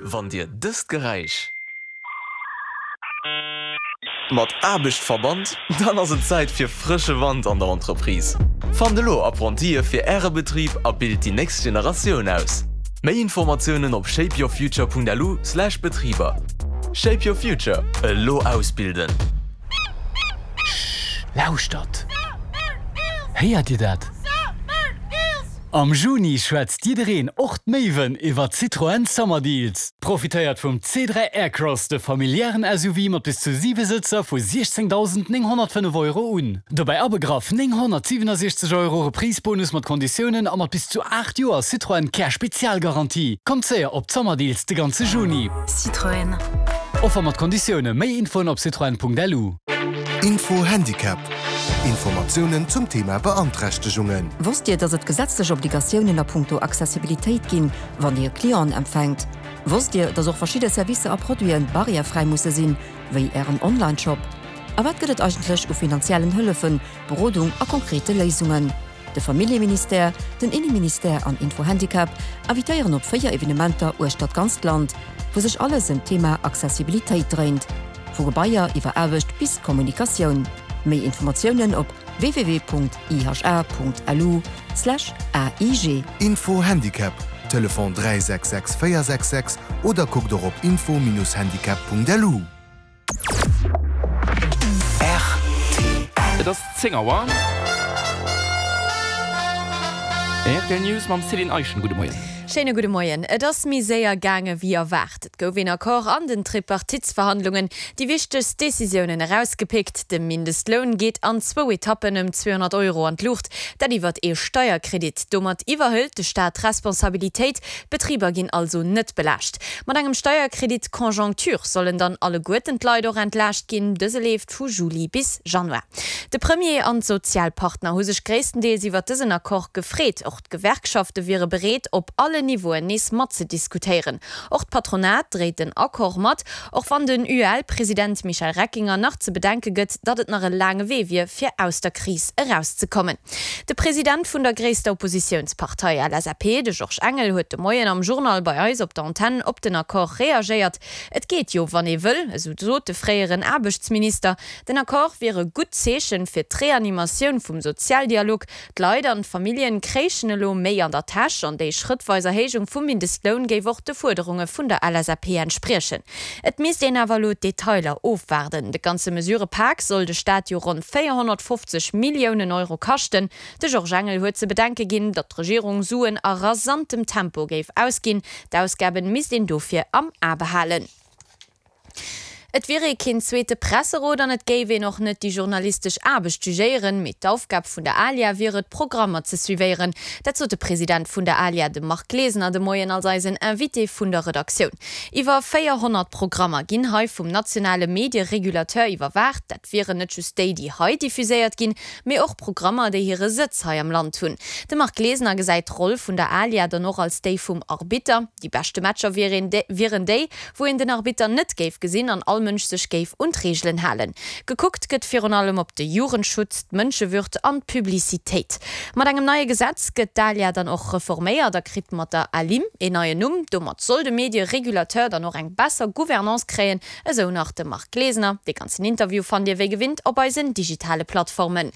Wann Dir dëst Geräisch mat Aarbecht verbannt, dann ass et Zäit fir frësche Wand an der Entreprise. Fannt elo Apprentisë fir Äre Betrib a bilt déi nächst Generatioun aus. Méi Informatiounen op shapeyourfuture.lu/betriber. Shape your future, elo ausbilden! Sch, lauschtert! Héiert Dir dat? Am Juni schwätzt jiddereen, och d'Méiwen, iwwer Citroën Summer Deals. Profitéiert vum C3 Aircross, de familiären SUV mat bis zu 7 Sëtzer vu 16.905 Euro un. Dobäi abegraff 967 Euro Reprise-Bonus mat Konditiounen a mat bis zu 8 Joer Citroën Care Spezialgarantie. Kommt séier op d'Summer Deals de ganze Juni. Citroën. Offer mat Konditioune. Méi Infoen op citroen.lu. Info Handicap, Informatiounen zum Thema Beanträchtegungen. Wosst Dir, dass et gesetzlech Obligatiounen a punkto Accessibilitéit ginn, wann Dir Clienten empfänkt? Wosst Dir, dass och verschidde Servicer a Produiten barrièrefräi musse sinn, wéi Ären Online-Shop? A wat gëtt et eigentlech u finanziellen Hëllefen, Berodung a konkrete Léisungen? De Familljeministère, den Inneministère an Info-Handicap invitéieren op 4 Evenementer uechter d'ganzt Land, wou sech alles ëm d'Thema Accessibilitéit dréint, vu Gebaier iwwer Aarbecht bis Kommunikatioun. Méi Informatiounen op www.iha.lu/aig. Info Handicap, Telefon 366 466 oder kuckt och op info-handicap.lu. Et ass 10 Auer. Rtl News mam Céline Eischen. Gudde Moien. Schéine gudde Moien. Et ass méi séier gaange wéi erwaart. Et gouf een Accord an den Tripartitsverhandlungen. Déi wichtegst Decisiounen erausgepickt, De Mindestloun geet an zwou Etappen ëm 200 Euro an d'Luucht, dat iwwert ee Steierkredit. Domat iwwerhëlt de Staat d'Responsabilitéit. D'Betriber ginn also net belaascht. Mat engem Steierkredit Conjoncture sollen dann alleguerten d'Leit och entlaascht ginn. Dëse leeft vu Juli bis Januar. De Premier an d'Sozialpartner hu sech gréisstendeels iwwer dësen Accord gefreet. Och d'Gewerkschafte wiere bereet, op allen Niveauen nees matzediskutéieren. Och d'Patronat dréit den Accord mat, och wann den UEL-President Michel Reckinger nach ze bedenke gëtt, datt et nach e laange Wee wier, fir aus der Kris erauszekommen. De President vun der gréisster Oppositiounspartei LSAP, de Georges Engel, huet de Moien am Journal bei eis op der Antenn op den Accord reagéiert. Et geet jo, wann ee wëll, esou sot de fréieren Aarbechtsminister. Den Accord wier e gutt Zeechen fir d'Reanimatioun vum Sozialdialog. D'Leit an d'Familljen kréichen elo méi an der Täsch an déi schrëttweis Erhéijung vum Mindestloun géif och de Fuerderunge vun der LSAP entspriechen. Et misst een awer elo d'Detailer ofwaarden. De ganze Mesurëpak soll de Staat jo ronn 450 Milliounen Euro kaschten. De Georges Engel huet ze bedenke ginn, datt d'Regierung Suen a rasantem Tempo géif ausginn. D'Ausgaben misst een dofir am A behalen. Et wier ee keen zweete Presserot an et géif een och net déi journalistesch Aarbecht jugéieren, mee d'Aufgab vun der ALIA wier et, Programmer ze suivéieren. Dat sot de President vun der ALIA, de Marc Glesener, de Moien als eisen Invité vun der Redaktioun. Iwwer 400 Programmer ginn hei vum nationale Medieregulateur iwwerwaacht. Dat wieren net just déi, déi hei diffuséiert ginn, mee och Programmer, déi hire Sëtz hei am Land hunn. De Marc Glesener gesäit d'Roll vun der ALIA dann och als déi vum Arbitter. Déi beschte Matcher wieren déi, wou een den Arbitter net géif gesinn an all Mënsch sech géif un d'Reegelen halen. Gekuckt gëtt virun allem op de Jugendschutz, d'Mënschewürd an d'Publicitéit. Mat engem neie Gesetz gëtt d'ALIA dann och reforméiert a kritt mat der ALIM een neien Numm. Domat soll de Medie-Regulateur dann och eng besser Gouvernance kréien, esou nach de Marc Glesener. Dee ganzen Interview fannt Dir wéi gewinnt op eisen digitale Plattformen.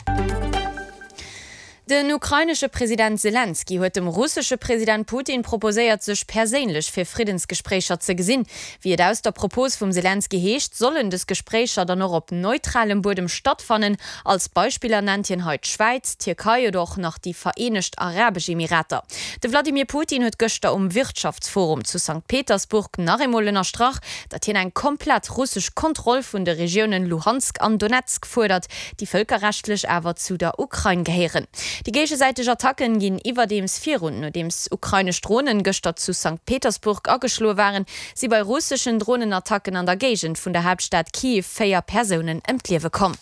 Den ukrainesche President Selenskyj huet dem russesche President Putin proposéiert, sech perséinlech fir Friddensgespréicher ze gesinn. Wéi et aus der Propos vum Selenskyj heescht, sollen dës Gespréicher dann och op neutralem Buedem stattfannen. Als Beispiller nennt hien hei d'Schwäiz, d'Tierkei oder och nach déi Vereenegt Arabesch Emirater. De Wladimir Putin huet gëschter um Wirtschaftsforum zu Sankt Petersburg nach eemol ënnerstrach, datt hien eng komplett russesch Kontroll vun de Regiounen Luhansk an Donetsk fuerdert, déi vëlkerrechtlech awer zu der Ukrain gehéieren. Déi géigesäiteg Attacken ginn iwwerdeems virun. Nodeems ukrainesch Dronen gëschter zu Sankt Petersburg ageschloe waren, si bei russeschen Dronenattacken an der Géigend vun der Haaptstad Kiew 4 Persounen ëm d'Liewe komm.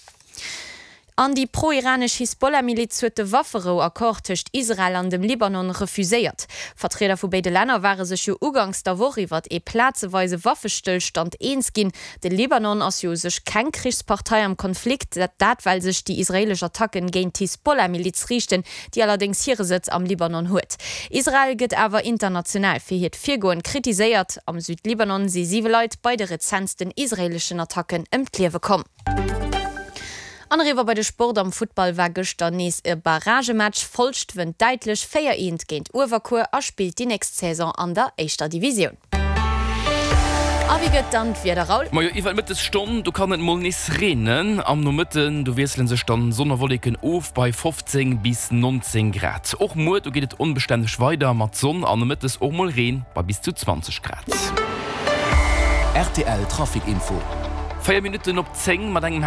An déi pro-iranesch Hisbollah-Miliz huet de Wafferou-Accord tëscht Israel an dem Libanon refuséiert. Vertrieder vu béide Länner ware sech jo uganks der Woch iwwert ee plazeweise Waffestëllstand eens ginn. De Libanon ass jo u sech keng Krichspartei am Konflikt, dat well sech déi israeelesch Attacken géint d'Hisbollah-Miliz riichten, déi allerdéngs hire Sëtz am Libanon huet. Israel gëtt awer international fir hiert Virgoen kritiséiert. Am Südlibanon si siwe Leit bei de rezentsten israeeleschen Attacken ëm d'Liewe komm. An eriwwer bei de Sport, Am Futtball war gëschter nees e Barragematch. Folscht wënnt däitlech 4, 1 géint Uewerkuer a spillt déi nächst Saison an der éischter Divisioun. A wéi gëtt dann d'Wieder, Raoul? Majo, iwwer d'Mëttesstonn, do kann et mol nees reenen. Am Nomëtten, do wiessele sech dann Sonn a Wolleken of bei 15 bis 19 Grad. Och muer, do geet et onbestänneg weider mat Sonn an nomëttes och mol Reen bei bis zu 20 Grad. Rtl Trafic Info. 4 Minutten op 10 mat engem.